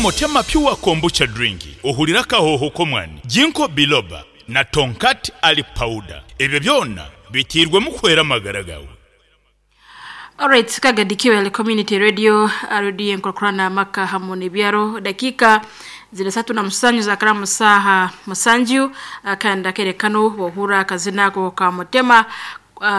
Mutema Pure Kombucha Drink, ohurire akahooho k'omwani, Ginkgo Biloba na Tongkat Ali Powder. Ebyo byona biteirwemu kuhwera amagara gaawe. Alright, Kagadi QL Community Radio, radio y'enkurakurana amaka hamu n'ebyaro. Dakiika ziri 37 zakara mu saaha 7, kandi akaire kanu bwohurra akazina ako ka Mutema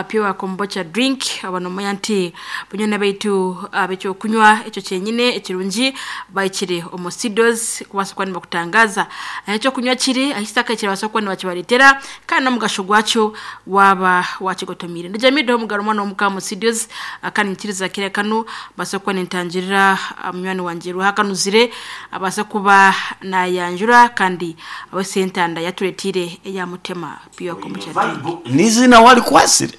Pure Kombucha Drink, aba nomanya nti banywani baitu ab'ekyokunywa ekyo kyenyine ekirungi bahikire omu studios kubaasa kuba nibakutangaza ahu ekyokunywa kiri, ahu ekitaka kirabaasa kuba nibakibareetera kandi n'omugasho gwakyo waaba wakigotomiire. Ndi Jamidah Omugaru omwana w'omuka omu studios kandi nyikiriza akaire kanu mbaase kuba nintangirira munywani wangye Ruhakanuzire abaase kuba nayanjura kandi abaise entanda yatureteire eya Mutema Pure Kombucha Drink. N'eiziina warikwatsire?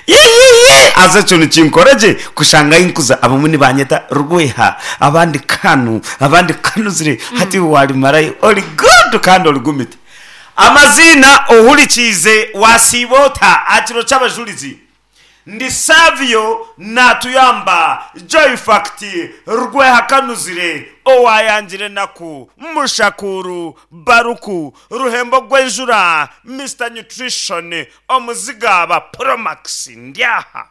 Yiiyiiyi! Haza ekyo nikinkora gye kushanga ahi nkuza abamwe nibanyeta Rweha, abandi Kanu, abandi Kanuzire, hati iwe warimarayo ori good kandi ori gumite. Amaziina ohurikiize wasiiba ota aha kiro ky'abajurizi? Ndi Savio Natuyamba, Joyfact, Rweha Kanuzire, Owayangire Enaku, Mushakuuru, Baruku, Ruhembo Gwenjura, Mister Nutrition, Omuzigaaba, Promax, ndi aha.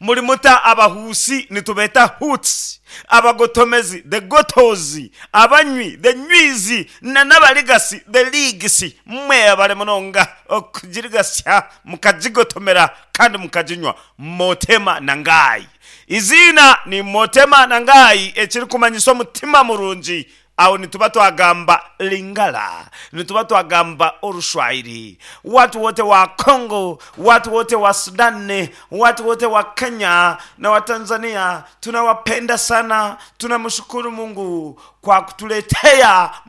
Muri muta Abahuusi nitubeeta Huts, Abagotomezi, the Gotos, Abanywi, the Nywizi, na n'Abarigasi, the Ligs. Mwebare munonga okugirigasya mukagigotomera kandi mukaginywa. Motema na Ngai. Eiziina ni Motema na Ngai ekirikumanyisa omutima murungi Aho nituba twagamba Lingala, nituba twagamba Orushwahili. Watu wote wa Congo, watu wote wa Sudan, watu wote wa Kenya na wa Tanzania tunawapenda sana. Tunamshukuru Mungu kwa kutuletea.